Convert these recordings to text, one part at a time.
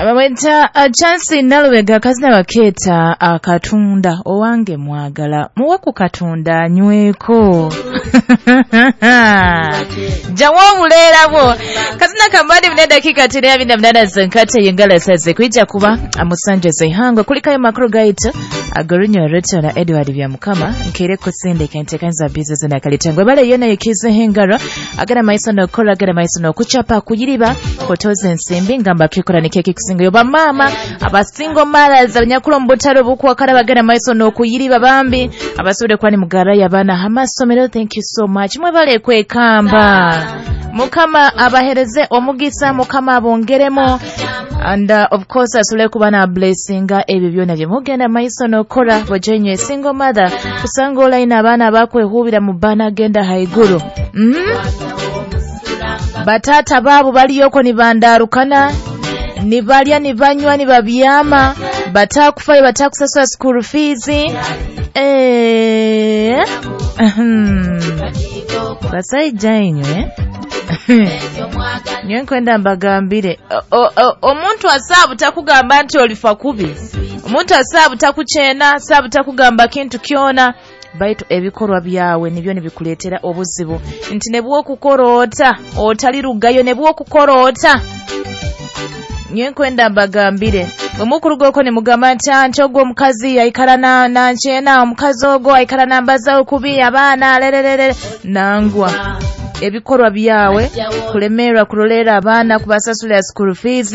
Bamweta Chance Nalubega, akazina bakeeta Akatunda. Owange mwagala muwe ku katunda anyweko, jawo obuleera bwo. Kazina kambadi mune dakiika 28 zenkate yengala saze kwijja kuba musanje zeihangwe kulikayo makuru gaitu agorinyo Rachel na Edward Byamukama nkere kusindika entekanza bizinesi nakalitengwe bale yona yekize hengaro agana maiso nokola agana maiso nokuchapa kuyiriba kotoza ensimbi ngamba kikora nikeki kusingayo bamama abasingo mothers abanyakula mu butale obukwakala bagana maiso nokuyiriba bambi abasobole kuba ni mugara y'abaana hamasomero. Thank you so much, mwebale kwekamba. Mukama abahereze omugisa, Mukama abongeremo and of course asobole kuba na blessinga ebyo byona bye mugenda maiso nokora. Bojenywe single mother kusanga olayina abaana abakwehubira mu bana genda haiguru. Batata baabo baliyoko nibandarukana, nibalya, nibanywa, nibabyama, batakufayo, batakusasula school fees. Basaija inywe, nyowe nkwenda mbagambire, omuntu asaabu takugamba nti olifa kubi, omuntu asaabu takukyena, asaabu takugamba kintu kyona, baitu ebikorwa byawe nibyo nibikuleetera obuzibu nti ne bwokukora ota otalirugayo, ne bwokukora ota. Nyowe nkwenda mbagambire, bwe mukuruga nimugamba nti anti ogwo omukazi aikara nankyena, omukazi ogwo aikara nambazaho kubi abaana lererere, nangwa ebikorwa byawe kulemerwa kuroleera abaana, kubasasulira school fees,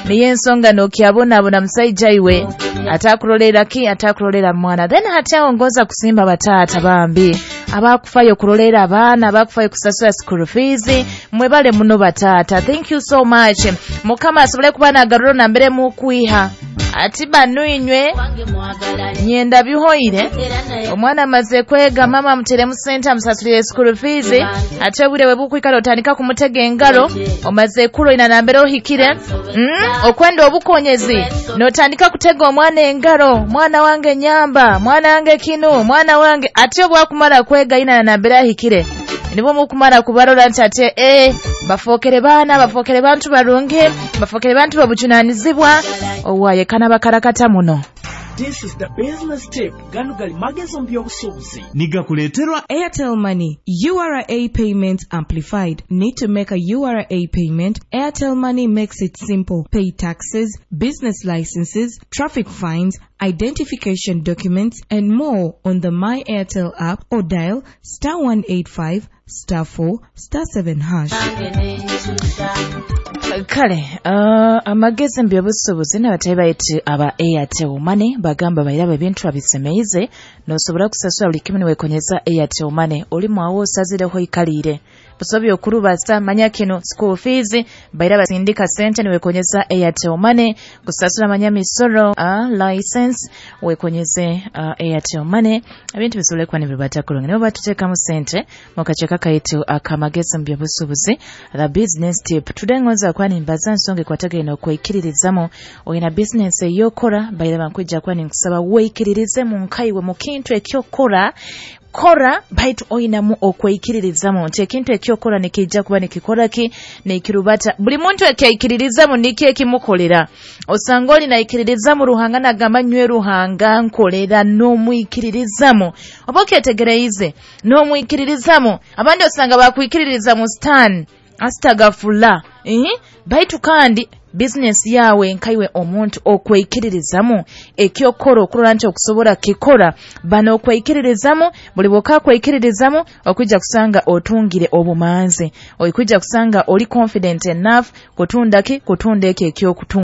niyo ensonga nokyabonabona musaija iwe atakuroleera ki, atakuroleera mwana. Then hati aho ngoza kusimba bataata bambi abakufayo kuroleera abaana, abakufayo kusasula school fees, mwebale muno bataata, thank you so much. Mukama asobole kuba nagaruro nambere mukwiha ati banu inywe nyenda bihoire, omwana amaze kwega, mama amuteremu sente amusasulire school fees, ate obwire bwe bukwikala otandika kumutega engaro, omaze kuroina nambere ohikire, okwenda obukonyezi notandika kutega omwana engaro, mwana wange nyamba, mwana wange kinu, mwana wange, ate obwakumara kwega ina nambere ahikire nibwo mukumara kubarora nti ate bafookere baana, bafookere bantu barungi, bafookere bantu babujunanizibwa, owaye kana bakarakata muno. This is the business tip. Gano gali magezo mu by'obusuubuzi. Nigakuleeterwa Airtel Money URA Payment Amplified. Need to make a URA payment? Airtel Money makes it simple. Pay taxes, business licenses, traffic fines, identification documents, and more on the My Airtel app or dial *185 *4 *7#. Kale amagezi mu by'obusuubuzi n'abatayi baitu aba Airtel Money bagamba bairaba ebintu abisemeize nosobora kusasula buli kimu niwekonyeza Airtel Money. Oli mwawo osazireho ikaliire busobya okurubasa manya kino school fees baira basindika sente niwekonyeza Airtel Money, kusasula manya misoro, license wekonyeze Airtel Money, ebintu bisobole kuba nibibata kurungi. Nibo batuteekamu sente mu kakyeka kaitu akamagezi mu by'obusuubuzi, the business tip. Today ngonza kuba nimbaza nsonga ekwatagaine okwikiririzamu. Oyina business eyokora, baira bankwija kuba ninkusaba weikiririze mu nkaiwe mu kintu ekyokora kora, baitu oyinamu okwikiririzamu nti ekintu ekyokora nikijja kuba nikikora ki nikirubata. Buli muntu ekyaikiririzamu nikyo ekimukolera. Osanga oli naikiririzamu Ruhanga nagamba nywe Ruhanga nkolera, n'omwikiririzamu oba okyetegereize n'omwikiririzamu. Abandi osanga bakwikiririza mu stan asitagafula baitu kandi business yawe nkaiwe omuntu okwikiririzamu ekyokora okurora nti okusobora kikora bano okwikiririzamu. Buli bwoka kwikiririzamu okwijja kusanga otungire obumanzi, okwijja kusanga oli confident enough kutunda ki kutunda ekyo ekyokutunda.